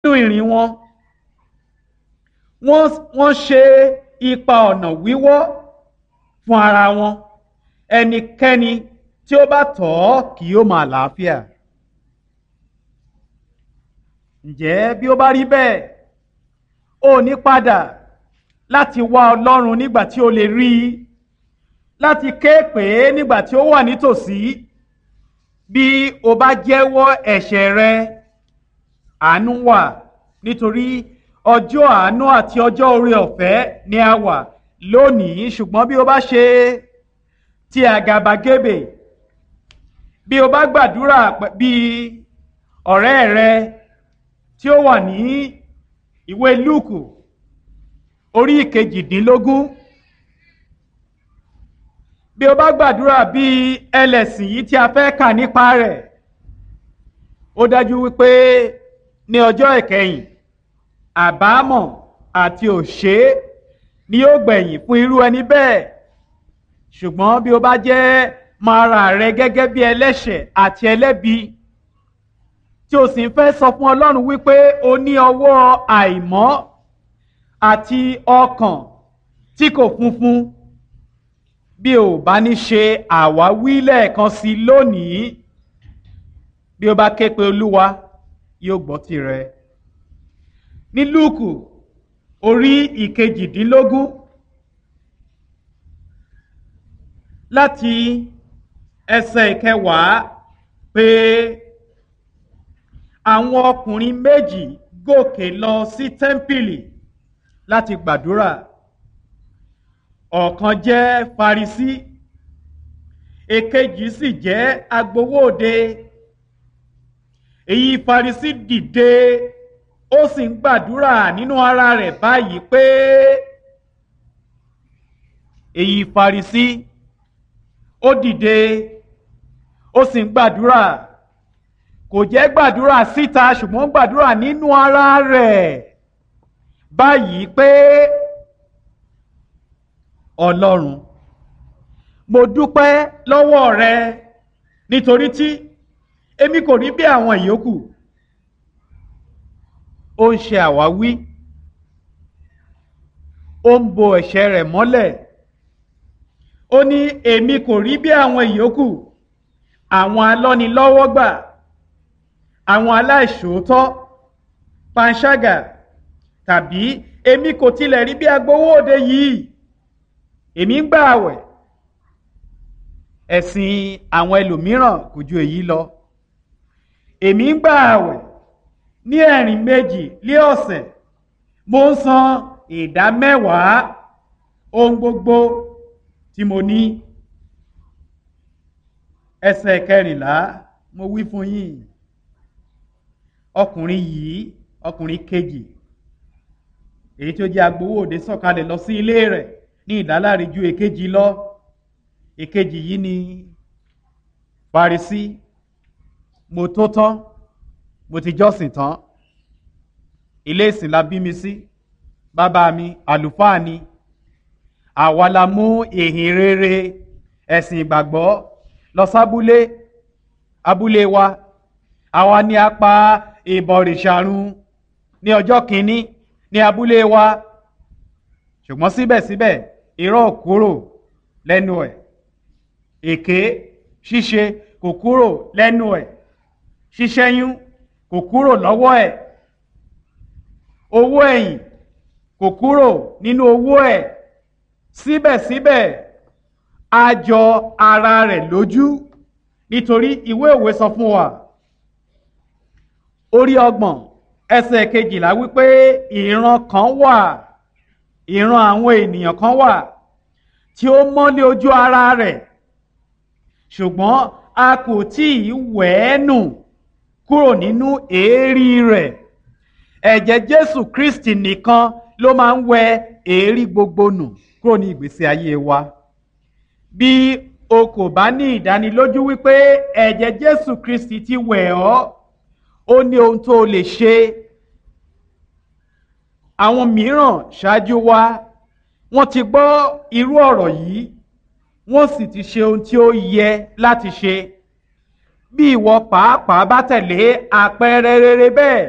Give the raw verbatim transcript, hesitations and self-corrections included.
Nínú ìrìn wọn, wọ́n wọ́n ṣe ipa ọ̀nà wíwọ́ fún ara wọn. Ẹnikẹ́ni tí ó bá tọ̀ ọ́ kì yóò mọ àlàáfíà. Ǹjẹ́ bí ó bá rí bẹ́ẹ̀, ó ní padà láti wá Ọlọ́run nígbà tí ó lè rí i, láti ké pè é nígbà tí ó wà nítòsí. Bí o bá jẹ́wọ́ ẹ̀ṣẹ̀ rẹ, àánú wà, nítorí ọjọ́ àánú àti ọjọ́ oore ọ̀fẹ́ ni a wà lónìí. Ṣùgbọ́n bí o bá ṣe ti àgàbàgebè, bí o bá gbàdúrà bí ọ̀rẹ́ rẹ tí ó wà ní ìwé Lúùkù orí ìkejìdínlógún, bí o bá gbàdúrà bí ẹlẹ́sìn yìí tí a fẹ́ kà nípa rẹ̀, ó dájú wípé ní ọjọ́ ìkẹyìn, àbámọ̀ àti òṣé ni yóò gbẹ̀yìn fún irú ẹni bẹ́ẹ̀. Ṣùgbọ́n bí o bá jẹ́ mọ ara rẹ gẹ́gẹ́ bí ẹlẹ́ṣẹ̀ àti ẹlẹ́bi, tí o sì ń fẹ́ sọ fún Ọlọ́run wípé o ní ọwọ́ àìmọ́ àti ọkàn tí kò funfun, bí o bá ní ṣe àwáwí lẹ́ẹ̀kan sí lónìí, bí o bá ké pe Olúwa, yóò gbọ́ tirẹ̀. Ní Lúùkù orí ìkejìdínlógún, láti ẹsẹ̀ ìkẹwàá pé àwọn ọkùnrin méjì gòkè lọ sí tẹ́ḿpìlì láti gbàdúrà. Ọ̀kan jẹ́ Farisí, èkejì sì jẹ́ agbowó òde. Èyí Farisí dìde, ó sì ń gbàdúrà nínú ara rẹ̀ báyìí pé, èyí Farisí ó dìde, ó sì ń gbàdúrà. Kò jẹ́ gbàdúrà síta, ṣùgbọ́n gbàdúrà nínú ara rẹ̀ báyìí pé, Ọlọ́run, mo dúpẹ́ lọ́wọ́ rẹ nítorí tí èmi kò rí bí àwọn ìyókù. Ó ń ṣe àwáwí, ó ń bo ẹ̀ṣẹ̀ rẹ̀ mọ́lẹ̀. Ó ní èmi kò rí bí àwọn ìyókù, àwọn alọ́nilọ́wọ́gbà, àwọn aláìṣòótọ́, panṣágà, tàbí èmi kò tilẹ̀ rí bí agbowó òde yìí. Èmi ń gbà àwẹ̀. Ẹ̀sìn àwọn ẹlòmíràn kò ju èyí lọ. Èmi ń gbà àwẹ̀ ní ẹ̀rìn méjì lé ọ̀sẹ̀. Mo ń san ìdá mẹ́wàá ohun gbogbo tí mo ní. Ẹsẹ̀ kẹrìnlá, mo wí fún yín, ọkùnrin yìí, ọkùnrin kejì, èyí tí ó jẹ́ agbowó òde sọ̀kalẹ̀ lọ sí ilé rẹ̀ ní ìdáláre ju èkejì lọ. Èkejì yìí ni Farisí. Mo tó tán, mo ti jọ́sìn tán. Ilé ìsìn la bí mi sí. Bàbá mi àlùfáà ni. Àwa la mú ìhìn rere ẹ̀sìn ìgbàgbọ́ lọ sábúlé, abúlé wa. Àwa ni a pa ìbọ̀rìṣà run ní ọjọ́ kìíní ní abúlé wa. Ṣùgbọ́n síbẹ̀síbẹ̀ irọ́ ò kúrò lẹ́nu ẹ̀. Èké ṣíṣe kò kúrò lẹ́nu ẹ̀. Ṣíṣẹ́yún kò kúrò lọ́wọ́ ẹ̀. Owó ẹ̀yìn kò kúrò nínú owó ẹ̀. Síbẹ̀síbẹ̀ a jọ ara rẹ̀ lójú, nítorí ìwé òwe sọ fún wa. Orí ọgbọ̀n ẹsẹ̀ kejìlá wípé ìran kan wà, ìran àwọn ènìyàn kan wà tí ó mọ́lé ojú ara rẹ̀, ṣùgbọ́n a kò tí ì wẹ̀ ẹ́ nù kúrò nínú èérí rẹ̀. Ẹ̀jẹ̀ Jésù Kristi nìkan ló máa ń wẹ èérí gbogbo nù kúrò ní ìgbésí ayé wa. Bí o kò bá ní ìdánilójú wípé ẹ̀jẹ̀ Jésù Kristi ti wẹ̀ ọ́, ó ní ohun tó lè ṣe. Àwọn mìíràn ṣáájú wa, wọ́n ti gbọ́ irú ọ̀rọ̀ yìí, wọ́n sì ti ṣe ohun tí ó yẹ láti ṣe. Bí ìwọ pàápàá bá tẹ̀lé àpẹẹrẹ rere bẹ́ẹ̀,